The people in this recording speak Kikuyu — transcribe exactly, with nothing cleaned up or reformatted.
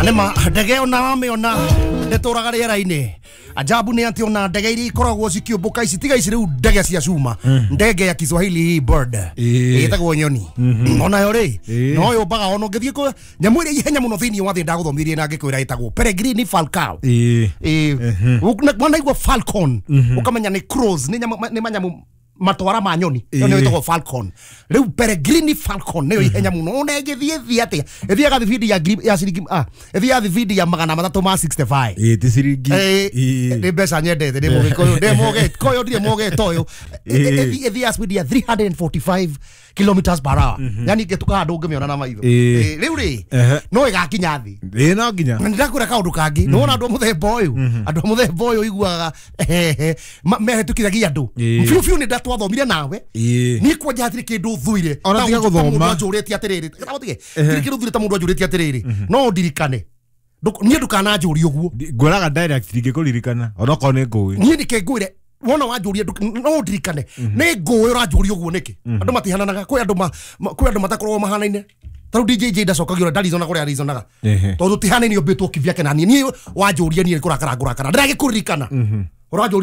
Nĩma ndege ona wamĩona ndĩtũraga rĩera-inĩ. Ajabu nĩ atĩ ona ndege iria ikoragwo cikĩũmbũka ici tiga ici rĩu ndege cia cuma, ndege ya Kiswahili hii bird Ĩĩ. ĩtagwo nyoni, onayo rĩ Ĩĩ. no yũmbaga ona ũngĩthiĩ kũ nyamũ ĩrĩa ihenya mũno thĩinĩ wa thĩ ndagũthomithirie na ngĩkwĩra ĩtagwo peregrine falcao. Ĩĩ. Ĩĩ, wanaigua falcon ũkamenya nĩ crows, nĩ nyamũ nĩ manyamũ matwara ma nyoni ĩyo nĩyo Ĩĩ. ĩtagwo falcon. Rĩu peregrine falcon nĩyo ihenya mũno, ona ĩngĩthiĩ thiĩ atĩa ĩthiaga thibindi ya ngiri ya ciringi, ah, ĩthiaga thibindi ya magana matatũ ma mĩrongo ĩtandatũ na ithano. Ĩĩ, ti ciringi. Ĩĩ, Ĩĩ. nĩ mbeca nyendete, ndĩ mũgĩkũyũ, ndĩ mũgĩkũyũ, ndirĩ mũgĩtoyũ. Ĩĩ. Ĩthiaga speed ya three hundred forty-five kilometers per hour, yani ĩngĩtuka handũ ũngĩmĩona na maitho. Ĩĩ. Ĩĩ, rĩu rĩ Ehe. no ĩgakinya thĩ. Ĩĩ, no nginya. Na nĩndakwĩra kaũndũ kangĩ, nĩwona andũ a mũthemba ũyũ, andũ a mũthemba ũyũ iguaga mehĩtũkithagia andũ Ĩĩ. biũ biũ. Nĩ ndatwathomire nawe. Ĩĩ. Niĩ kwanja hatirĩ kĩndũ thuire Ona Ta tiga mũndũ- ta gũthoma. mũndũ anjũrĩtie atĩrĩrĩ, tige tirĩ kĩndũ thuire ta mũndũ anjũrĩtie atĩrĩrĩ, no ndirikane. Ndũ- niĩ ndũkananjũrie ũguo. Ngwĩraga direct ndingĩkũririkana onokorwo nĩ ngũĩ. Niĩ nĩkĩ ngwĩre wona wanjũria ndũ- no ndirikane nĩ ngũĩ ũranjũria ũguo nĩkĩ? Andũ matihananaga, kwĩ andũ ma- ma- kwĩ andũ matakoragwo mahanaine. Ta rĩu D J J ndacokagio ũrĩa ndarizonaga ũrĩa arizonaga Ehe. tondũ tihanaine ũmbĩtwo kivyake na niĩ. Niĩ wanjũria niĩ kũrakara ngũrakara ndĩragĩkũririkana ũranjũria.